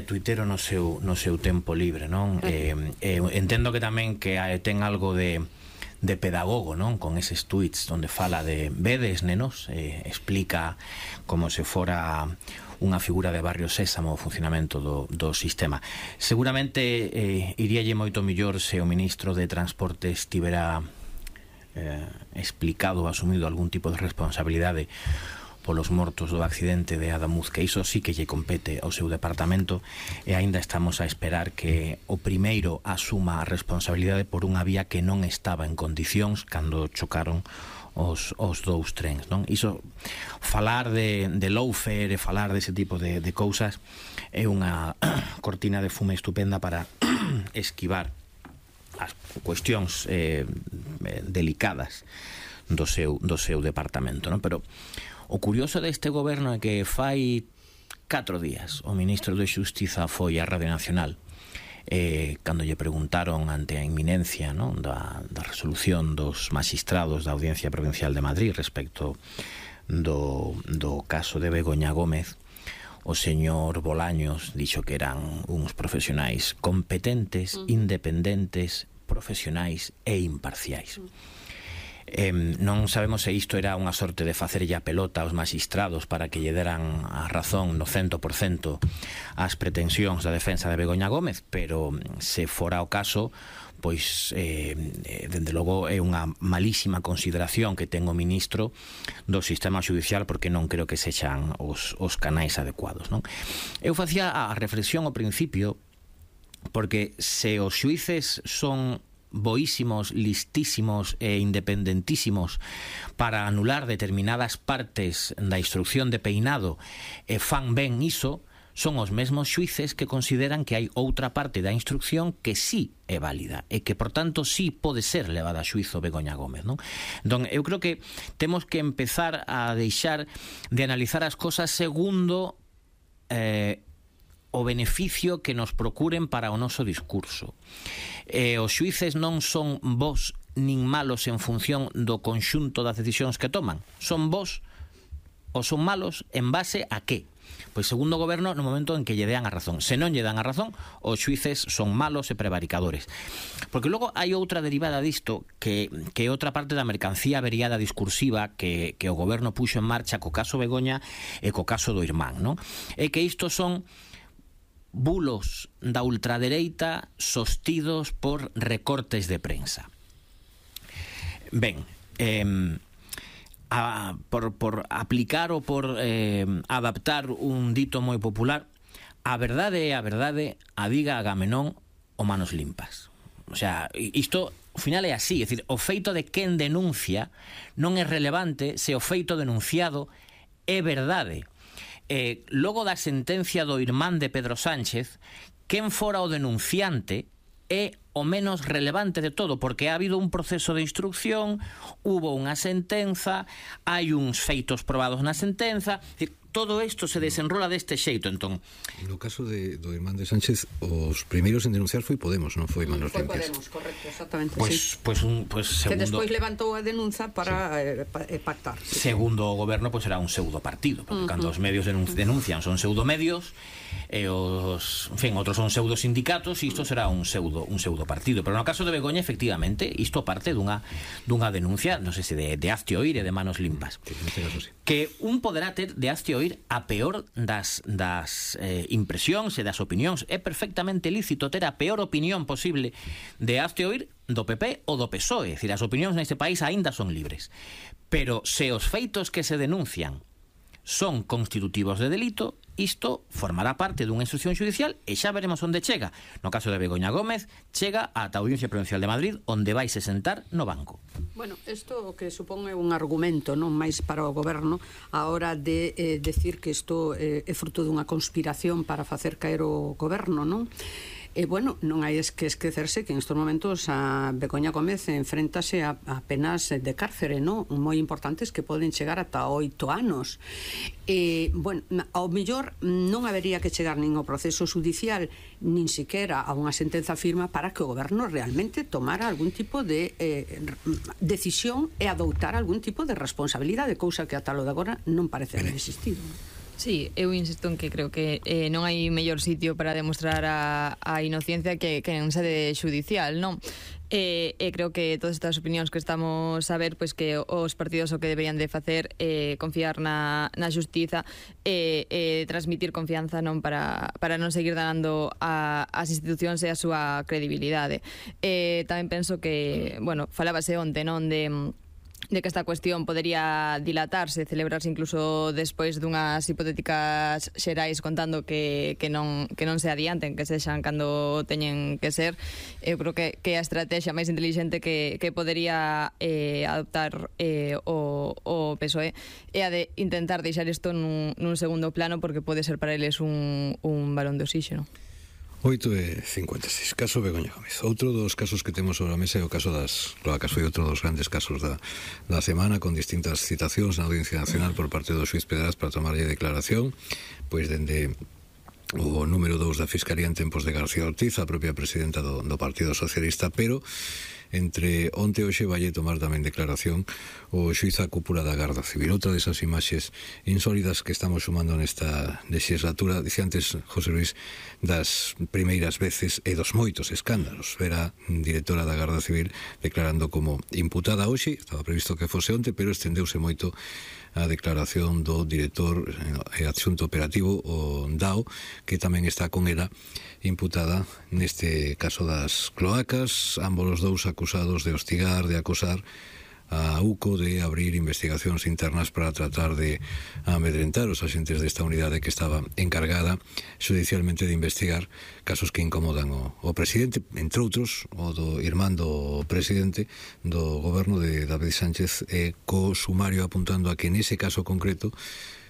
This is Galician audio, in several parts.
Tuitero no seu tempo libre, non? Entendo que tamén que ten algo de pedagogo, non? Con eses tweets onde fala de vedes, nenos, explica como se fora unha figura de Barrio Sésamo o funcionamento do sistema. Seguramente iríalle moito millor se o ministro de Transportes tivera explicado ou asumido algún tipo de responsabilidade polos mortos do accidente de Adamuz, que iso sí que lle compete ao seu departamento, e aínda estamos a esperar que o primeiro asuma a responsabilidade por unha vía que non estaba en condicións cando chocaron os dous trens, non? Iso, falar de lawfare e falar dese tipo de cousas é unha cortina de fume estupenda para esquivar as cuestións delicadas do seu departamento, non? Pero o curioso deste goberno é que fai 4 días o ministro de Xustiza foi á Radio Nacional cando lle preguntaron ante a inminencia, non, da resolución dos magistrados da Audiencia Provincial de Madrid respecto do caso de Begoña Gómez. O señor Bolaños dixo que eran uns profesionais competentes, independentes, profesionais e imparciais. Non sabemos se isto era unha sorte de facerlle a pelota aos magistrados para que lle deran a razón no 100% ás pretensións da defensa de Begoña Gómez, pero se fora o caso, pois dende logo é unha malísima consideración que ten o ministro do sistema judicial, porque non creo que sexan os canais adecuados, non? Eu facía a reflexión ao principio, porque se os xuíces son boísimos, listísimos e independentísimos para anular determinadas partes da instrucción de peinado e fan ben iso, son os mesmos xuíces que consideran que hai outra parte da instrucción que sí é válida e que, por tanto, sí pode ser levada a xuízo Begoña Gómez, non? Entón, eu creo que temos que empezar a deixar de analizar as cosas segundo o beneficio que nos procuren para o noso discurso. Os xuíces non son bos nin malos en función do conxunto das decisións que toman. Son bos ou son malos en base a que? Pois segundo o goberno no momento en que lle dean a razón. Se non lle dan a razón, os xuíces son malos e prevaricadores. Porque logo hai outra derivada disto que é outra parte da mercancía averiada discursiva que o goberno puxo en marcha co caso Begoña e co caso do irmán, non? É que isto son bulos da ultradereita sostidos por recortes de prensa. Ben, por aplicar ou por adaptar un dito moi popular, a verdade é a verdade, a diga Agamenón o manos limpas. O sea, isto ao final é así, é dicir, o feito de quen denuncia non é relevante se o feito denunciado é verdade. Logo da sentencia do irmán de Pedro Sánchez, quen fora o denunciante é o menos relevante de todo, porque ha habido un proceso de instrucción, hubo unha sentenza, hai uns feitos probados na sentenza, todo isto se desenrola deste xeito. Entón, no caso do irmán de Sánchez, os primeiros en denunciar foi Podemos, non foi Manos Limpias. Foi Podemos, correcto, exactamente. Pues segundo, que despois levantou a denuncia para pactar. Sí. Segundo o goberno, pues será un pseudo partido, porque cando os medios denuncian son pseudomedios, e os, en fin, outros son pseudo sindicatos, e isto será un pseudo partido. Pero no caso de Begoña, efectivamente, isto parte dunha denuncia, non sei se de hazte oír e de Manos Limpas, que un poderá ter de hazte oír a peor das impresións e das opinións. É perfectamente lícito ter a peor opinión posible de hazte oír do PP ou do PSOE. É dicir, as opinións neste país aínda son libres. Pero se os feitos que se denuncian son constitutivos de delito, isto formará parte dunha instrucción judicial e xa veremos onde chega. No caso de Begoña Gómez, chega ata a Audiencia Provincial de Madrid, onde vaise sentar no banco. Bueno, isto que supón é un argumento non máis para o goberno a hora de decir que isto é fruto dunha conspiración para facer caer o goberno, non? E, bueno, non hai que esquecerse que en estes momentos a Begoña Gómez enfréntase a penas de cárcere, non? Moi importantes que poden chegar ata 8 anos. E, bueno, ao mellor non habería que chegar nin ao proceso judicial nin siquiera a unha sentenza firma para que o goberno realmente tomara algún tipo de decisión e adoptar algún tipo de responsabilidade, cousa que ata lo de agora non parece haber existido. Sí, eu insisto en que creo que non hai mellor sitio para demostrar a inocencia que en sede judicial, non? Creo que todas estas opinións que estamos a ver, pois que os partidos o que deberían de facer confiar na xustiza e transmitir confianza, non, para non seguir danando as institucións e a súa credibilidade. Tamén penso que, bueno, falábase onte, non, de que esta cuestión podería dilatarse, celebrarse incluso despois dunhas hipotéticas xerais, contando que non se adianten, que sexan cando teñen que ser. Eu creo que a estrategia máis inteligente que podería adoptar o PSOE é a de intentar deixar isto nun segundo plano, porque pode ser para eles un balón de oxígeno. 8:56, caso Begoña Gómez. Outro dos casos que temos sobre a mesa é o caso das cloacas. Foi outro dos grandes casos da semana, con distintas citacións na Audiencia Nacional por parte do xuiz Pedraz para tomarlle declaración, pois dende o número 2 da Fiscalía en tempos de García Ortiz, a propia presidenta do Partido Socialista, pero entre onte e hoxe vai tomar tamén declaración o xuiz a cúpula da Garda Civil. Outra desas imaxes insólidas que estamos sumando nesta legislatura. Dice antes José Luis das primeiras veces e dos moitos escándalos. Ver a directora da Garda Civil declarando como imputada hoxe, estaba previsto que fose onte, pero estendeuse moito a declaración do director e adxunto operativo, o DAO, que tamén está con ela imputada neste caso das cloacas, ambos os dous acusados de hostigar, de acosar a UCO, de abrir investigacións internas para tratar de amedrentar os axentes desta unidade que estaba encargada judicialmente de investigar casos que incomodan o presidente, entre outros o do irmán do presidente do goberno de David Sánchez, co sumario apuntando a que nese caso concreto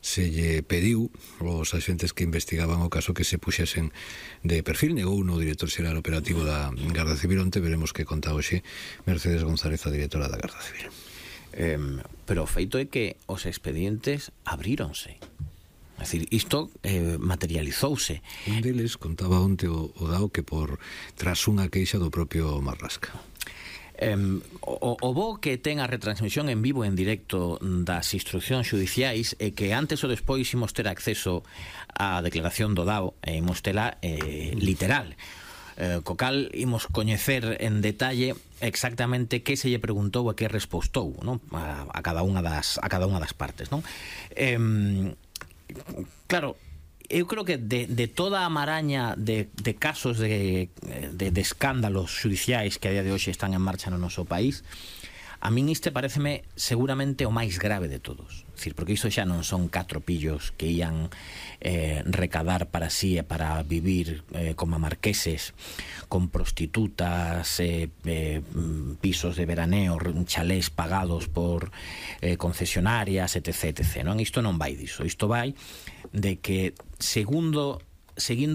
se lle pediu aos axentes que investigaban o caso que se puxesen de perfil. Negou o director xeral operativo da Garda Civil. Onte veremos que conta hoxe Mercedes González, a directora da Garda Civil. Pero o feito é que os expedientes abríronse. É dicir, isto materializouse. Un deles contaba onte o DAO que tras unha queixa do propio Marlaska. O bo que ten a retransmisión en vivo en directo das instruccións judiciais é que antes ou despois imos ter acceso á declaración do DAO e imos tela literal, co cal imos coñecer en detalle exactamente que se lle preguntou e que respostou, non? a cada unha das partes, non? Claro, eu creo que de toda a maraña de casos de escándalos judiciais que a día de hoxe están en marcha no noso país, a min este pareceme seguramente o máis grave de todos. É dicir, porque isto xa non son 4 pillos que ían recadar para sí e para vivir como marqueses, con prostitutas, pisos de veraneo, chalés pagados por concesionarias, etc. Non? Isto non vai diso. Isto vai de que seguindo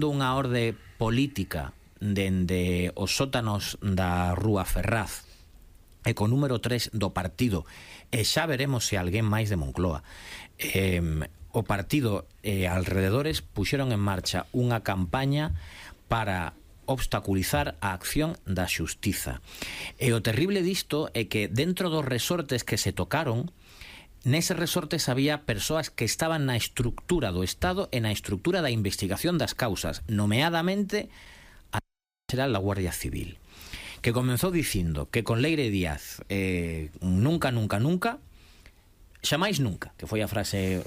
unha orde política dende os sótanos da Rúa Ferraz e co número 3 do partido, e xa veremos se alguén máis de Moncloa, o partido e alrededores puxeron en marcha unha campaña para obstaculizar a acción da xustiza. E o terrible disto é que dentro dos resortes que se tocaron, neses resortes había persoas que estaban na estructura do Estado e na estructura da investigación das causas, nomeadamente a xeral da Guardia Civil, que comenzou dicindo que con Leire Díaz nunca, xamais nunca, que foi a frase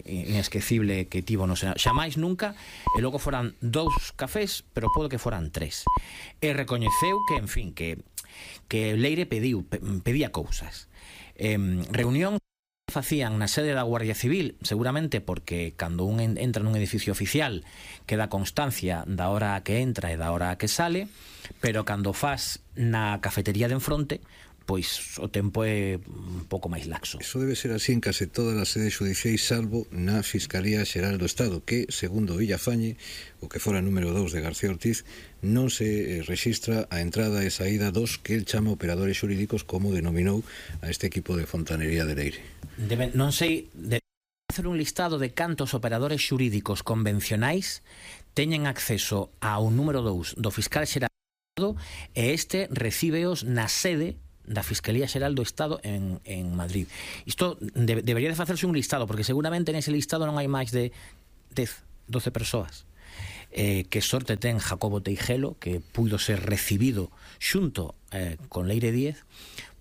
inesquecible que tivo no Senado, xamais nunca, e logo foran 2 cafés, pero pode que foran 3. E recoñeceu que, en fin, que Leire pedía cousas. Reunión facían na sede da Guardia Civil, seguramente porque cando un entra nun edificio oficial queda constancia da hora a que entra e da hora a que sale, pero cando faz na cafetería de enfronte, pois o tempo é un pouco máis laxo. Eso debe ser así en case todas as sedes judiciais, salvo na Fiscalía Xeral do Estado, que, segundo Villafañe, o que fora número 2 de García Ortiz, non se rexistra a entrada e saída dos que el chama operadores xurídicos, como denominou a este equipo de fontanería de Leire. Non sei, hacer un listado de cantos operadores xurídicos convencionais teñen acceso ao número 2 do fiscal xeral e este recíbeos na sede da Fiscalía Xeral do Estado en Madrid. Isto debería de facerse un listado, porque seguramente nese listado non hai máis de 10, 12 persoas. Que sorte ten Jacobo Teijelo, que puido ser recibido xunto con Leire Díez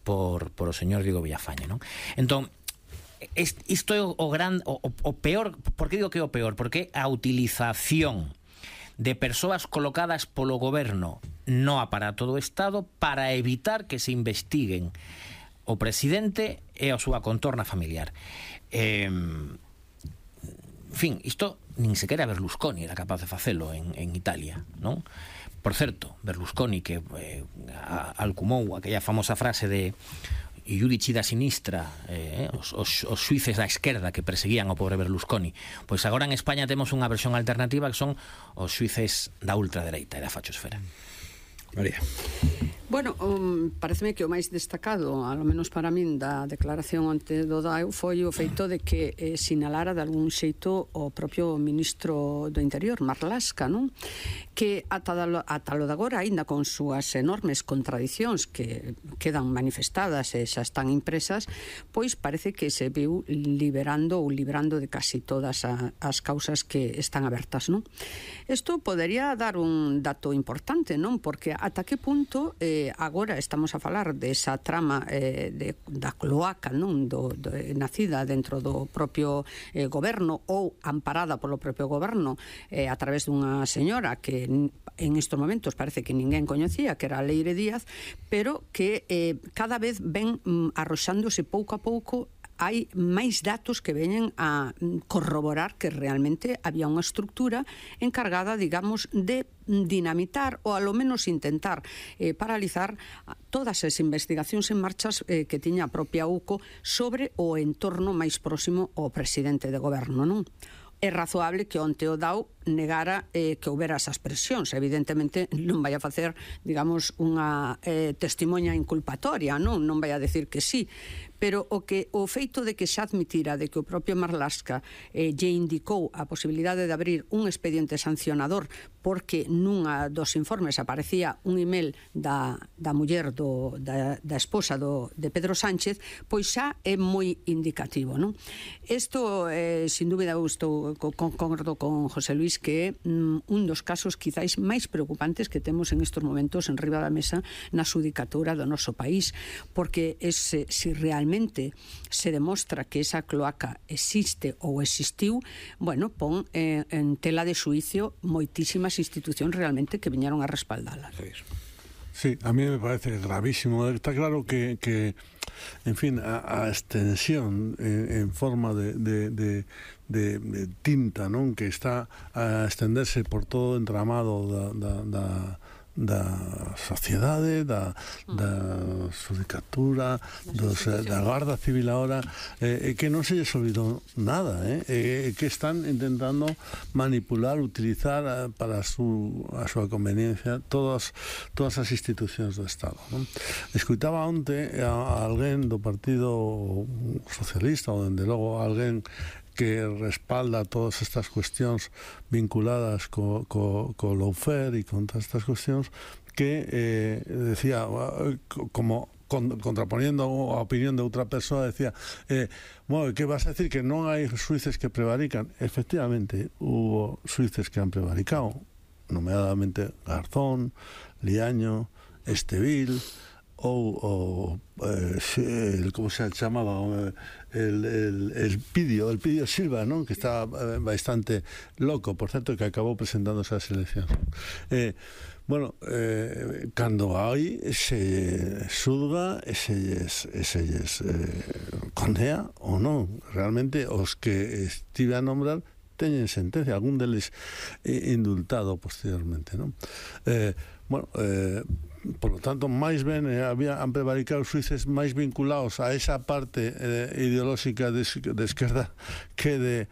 por o señor Diego Villafañe, non? Entón, isto é o peor. Por que digo que é o peor? Porque a utilización de persoas colocadas polo goberno no aparato do Estado para evitar que se investiguen o presidente e a súa contorna familiar. En fin, isto nin sequera Berlusconi era capaz de facelo en Italia, non? Por certo, Berlusconi, que alcumou aquella famosa frase de Iudici da sinistra, os xuíces da esquerda que perseguían ao pobre Berlusconi, pois agora en España temos unha versión alternativa que son os xuíces da ultradereita e da fachosfera. María. Bueno, pareceme que o máis destacado, ao menos para min, da declaración ante do DAEU foi o feito de que sinalara de algún xeito o propio ministro do Interior, Marlaska, non? Que ata lo de agora, aínda con súas enormes contradicións que quedan manifestadas e xa están impresas, pois parece que se viu librando de casi todas as causas que están abertas, non? Isto podería dar un dato importante, non? Porque ata que punto agora estamos a falar desa trama da cloaca, non? Nacida dentro do propio goberno ou amparada polo propio goberno a través dunha señora que en estos momentos parece que ninguén coñecía, que era Leire Díaz, pero que cada vez ven arroxándose pouco a pouco. Hai máis datos que veñen a corroborar que realmente había unha estructura encargada, digamos, de dinamitar ou alo menos intentar paralizar todas as investigacións en marchas que tiña a propia UCO sobre o entorno máis próximo ao presidente de goberno, non? É razoable que onte o DAO negara que houbera esas presións. Evidentemente non vai a facer, digamos, unha testimoña inculpatoria, non vai a decir que sí, pero o feito de que xa admitira de que o propio Marlaska lle indicou a posibilidade de abrir un expediente sancionador porque nunha dos informes aparecía un email da muller da esposa de Pedro Sánchez, pois xa é moi indicativo, non? Isto, sin dúbida, eu concordo con José Luis, que é un dos casos quizáis máis preocupantes que temos en estos momentos en riba da mesa na xudicatura do noso país, porque se realmente se demostra que esa cloaca existe ou existiu, bueno, pon en tela de xuicio moitísimas institucións realmente que viñeron a respaldalas. Sí, a mí me parece gravísimo. Está claro que en fin, a extensión en forma de tinta, non? Que está a estenderse por todo o entramado da sociedade, da xudicatura, da Garda Civil agora, que non se lles olvidou nada, que están intentando manipular, utilizar para a súa conveniencia todas as institucións do Estado, non? Escoitaba onte a alguén do Partido Socialista, ou dende logo alguén que respalda todas estas cuestións vinculadas co lawfare e con todas estas cuestións, que decía, como contraponiendo a opinión de outra persoa, decía, bueno, que vas a decir que non hai xuíces que prevarican? Efectivamente, hubo xuíces que han prevaricado, nomeadamente Garzón, Liaño, Estevil, ou como se chamaba, el Pidio Silva, non? Que estaba bastante loco, por certo, que acabou presentándose ás eleccións. Bueno, cando hai se xulga e se lles condea ou non. Realmente os que estive a nombrar teñen sentencia, algún deles indultado posteriormente, non? Bueno, por lo tanto, máis ben han prevaricado os xuíces máis vinculados a esa parte ideolóxica de esquerda que de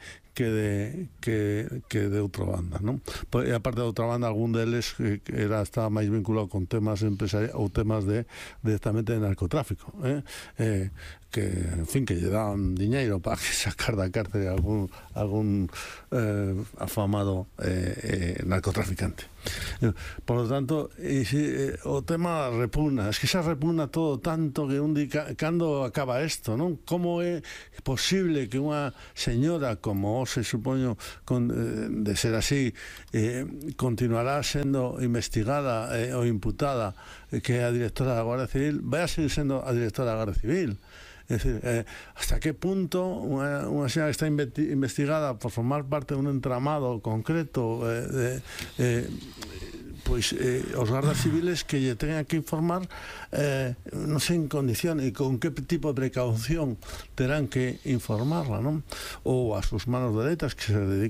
outra banda, non? E aparte de outra banda, algún deles estaba máis vinculado con temas empresariais ou temas directamente de narcotráfico, en fin, que lle dan diñeiro para que sacar da cárcel algún afamado narcotraficante. Por lo tanto, o tema repugna, es que se repugna todo tanto que cando acaba isto, non? Como é posible que unha señora como se supoño de ser así continuará sendo investigada ou imputada, que é a directora da Guardia Civil, vai a seguir sendo a directora da Guardia Civil? Es decir, hasta qué punto una señora que está investigada por formar parte de un entramado concreto pues os guardas civiles que lle tengan que informar non sei en condición e con que tipo de precaución terán que informarla, non? Ou as sus manos dereitas que se dedican